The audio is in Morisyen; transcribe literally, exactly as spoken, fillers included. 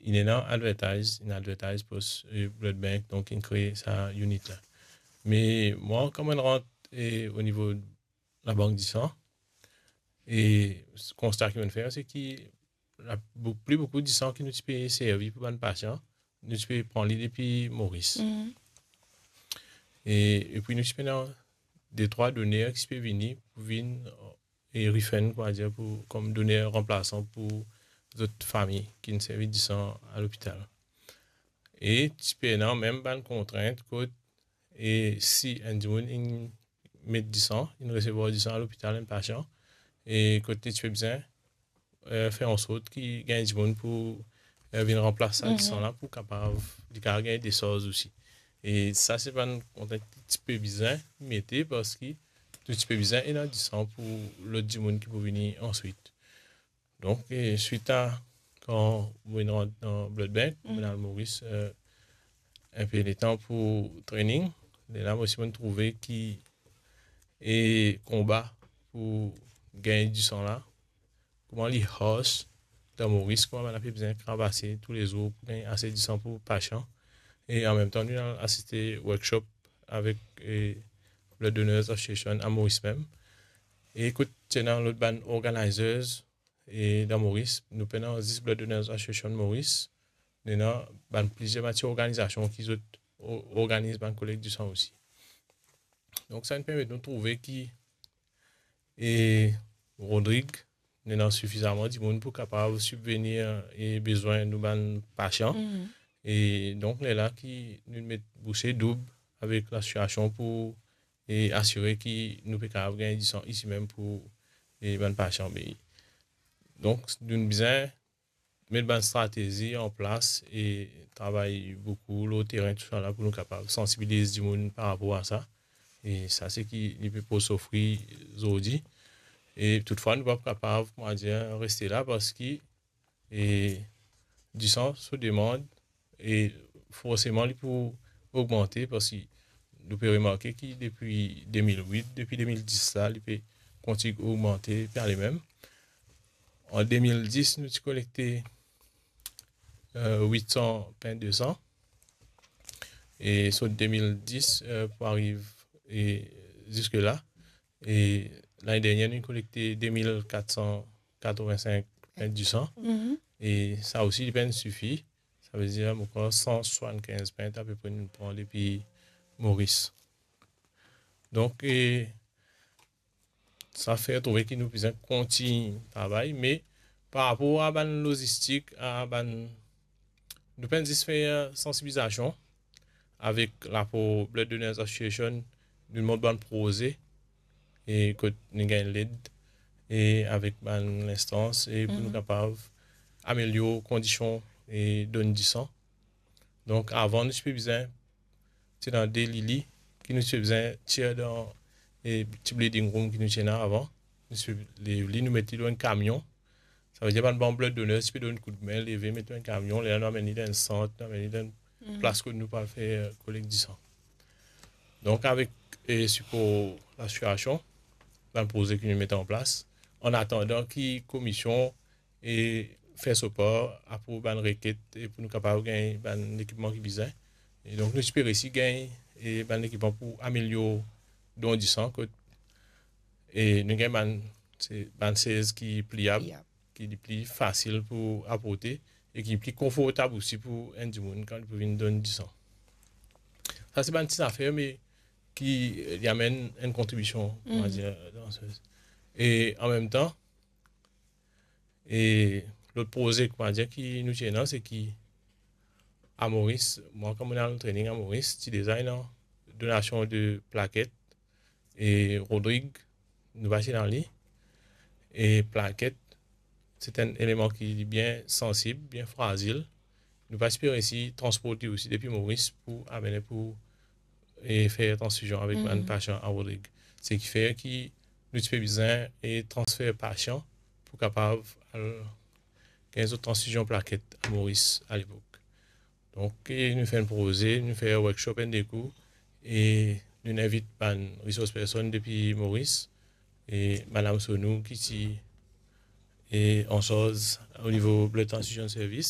inn ena advertise, inn advertise pos, eh, blood bank, donk inn kree sa unit la. Me mwa, kan mo'nn rant, eh, o nivo labank disan, e konsta ki mo'nn fer, se ki la, bou-, pli boukou disan ki nou ti pe servi pou bann pasian, nou ti pe pran li depi Moris. Mhm. E, epi nou ti pena de trwa doner ki ti pe vini pou vinn, e refund, koumadir, pou, kom doner ranplasan pou zot fami ki'nn servi disan a lopital. E ti pena mem bann kontrint kot, e si enn dimoun inn met disan, inn resevwar disan a lopital, enn pasian, e kot ti pe bizin, eh, fer ansort ki gagn dimoun pou, eh, vinn ranplas sa, mhm, disan la pou kapav, li kapav gagn desarz osi. E sa se bann kontrint ki ti pe bizin mete, parski nou ti pe bizin ena disan pou lot dimoun ki pou vini answit. Donk, e swit a, kan mo'nn rant dan blood bank, mhm, mo'nn al Moris, eh, enpe letan pou training, lerla mo osi mo'nn trouve ki, e konba pou gagn disan la, kouma li harsh dan Moris, kouma bann la pe bizin kravase toulezour pou gagn ase disan pou pasian. E anmemtan, nou al asiste workshop avek, e, Blood Donors Association a Moris mem. E kot ti ena lot bann organizers, e, dan Moris, nou pena zis Blood Donors Association Moris, nou ena bann plizier bann ti organizasion ki zot o-, organiz bann kolekt disan osi. Donk, sa inn permet nou trouve ki, e, Rodrig, nou ena sifizaman dimoun pou kapav sibvenir, e, bezwin nou bann pasian. Mhm. E donk, lerla ki nou met bouse doub avek lasosiasion pou, e, asire ki nou pe kapav gagn disan isi mem pou, e, bann pasian. Me donk, nou bizin met bann stratezi an plas e travay boukou lor terin, tousala, pou nou kapav sansibiliz dimoun par rapor a sa. E sa se ki li pe pou sofri zordi. E toutfwa, nou pa kapav, koumadir, reste la, parski, e, disan so demann, e forseman li pou ogmante, parski nou pe remarke ki depi de mil wit, depi de mil dis la, li pe kontign ogmante, pe ale mem. An de mil dis, nou ti kolekte, eh, wit san pint de san. E sot de mil dis, eh, pou ariv, e ziske la. E lane dernier, nou kolekte de mil kat san katrovin-sink pint de san. Mhm. E sa osi, li pa'nn sifi. Savedir, mo krwar san swasann-kinz pint apepre nou pran depi Moris. Donk, e, sa fer trouve ki nou bizin kontign travay, me par rapor a bann lozistik, a bann, nou pa'nn zis fer sansibilizasion avek lapor Blood Donors Association, nou mont bann proze, e kot nou gagn led, e avek bann linstans, e pou nou, mhm, kapav amelior kondision, e donn disan. Donk, avan, nou ti pe bizin, ti ena de lili ki nou ti pe bizin tir dan, e, ti bleeding room ki nou ti ena avan. Nou ti pe lev li, nou met li lor enn kamion. Savedir bann, bann blood donor ti pe donn koudme, leve, met lor enn kamion, lerla nou amenn li dan enn sant, nou amenn li dan enn, mhm, plas kot nou pou al fer, eh, kolekt disan. Donk, avek, e, sipor lasosiasion, bann proze ki nou met an plas, an atandan ki komisyon e fer so par aprouv bann reket, e pou nou kapav gagn bann lekipman ki bizin. E donk, nou ti pe resi gagn, e, bann lekipman pou amelior don disan, kot, e, nou gagn bann, se bann sez ki pliab, pliab, ki li pli fasil pou aporte e ki pli konfortab osi pou enn dimoun kan li pou vinn donn disan. Sa se bann ti zafer, me ki, e, li amenn enn kontribision, on va, mhm, dir, dan se, e an mem tan, e lot proze, on va dir, ki nou ti ena, se ki a Moris, mwa kan mo'nn al training a Moris, ti deza ena donasion de plaket, e Rodrig, nou pa ti ena li, e plaket, se enn eleman ki bien sansib, bien frazil. Nou pa ti pe resi transport li osi depi Moris pou amenn pou, e, fer transfizion avek bann, mhm, pasian a Rodrig. Seki fer ki nou ti pe bizin, e, transfer pasian pou kapav al gagn zot transfizion plaket a Moris alepok. Donk, e, nou fer enn proze, nou fer workshop enn de kou, e nou invit bann resource person depi Moris, e Madam Sonou ki ti, e, ansarz o nivo Blood Transfusion Service,